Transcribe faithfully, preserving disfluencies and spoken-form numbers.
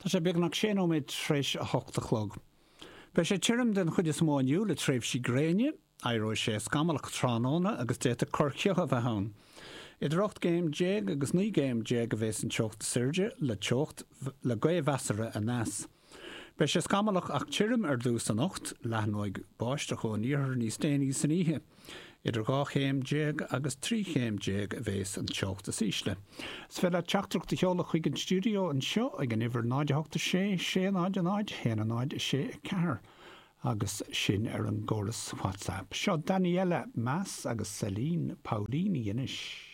Tá sé beagnach sé nóiméad tar éis a hocht a chlog. Beidh sé tirim den chuid is mó inniu le tréimhsí gréine, éireoidh sé scamallach tráthnóna agus d'fhéadfadh corrchioth a bheith ann. Idir ocht gcéim déag agus naoi gcéim déag a bheas an teocht is airde le teocht le gaoth mheasartha aneas. Beidh sé scamallach ach tirim ar dtús anocht, leathnóidh báisteach ón iarthar níos déanaí san oíche. Idir dhá chéim déag agus trí chéim déag a bheas an teocht is ísle. Is féidir leat teachtaireacht a sheoladh chuig an stiúideo anseo ag an uimhir náid a hocht a sé sé náid a náid haon a náid a sé a ceathair agus sin ar an gcóras WhatsApp. Seo Daniela Mas agus Celine Paolini anois.